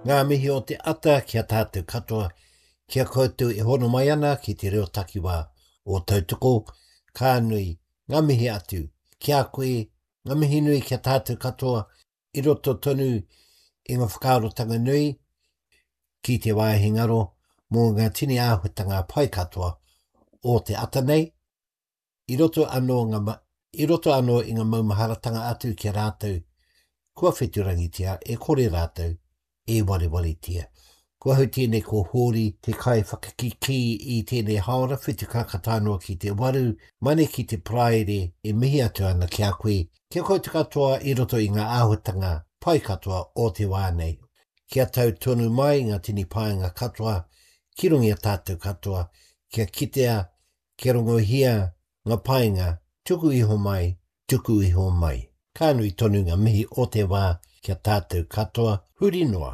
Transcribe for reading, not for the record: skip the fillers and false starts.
Ngā mihi o te ata ki a tātou katoa, ki a koutou e hono mai ana ki te reo takiwā o Tautoko, ka nui ngā mihi atu ki a koe, ngā mihi nui ki a tātou katoa i roto tonu i ngā whakaarotanga nui ki te wāhi ngaro mō ngā tini āhuatanga pai katoa o te ata nei, I roto anō ngā, i roto anō i ngā maumaharatanga atu ki a rātou kua wheturangitia e kore rātou e warewaretia. Ko ahau tēnei ko Hōri te kaiwhakakikī i tēnei haora whitu karaka tae noa ki te waru, mane ki te Paraire e mihi atu ana ki a koe, ki a koutou katoa i roto i ngā āhuatanga pai katoa o te wā nei. Kia tau tonu mai ngā tini painga katoa ki runga i a tātou katoa, kia kitea Kia rongohia nga painga tuku iho mai, tuku iho mai. Ka nui tonu nga mihi o te wa kia tatou katoa huri noa.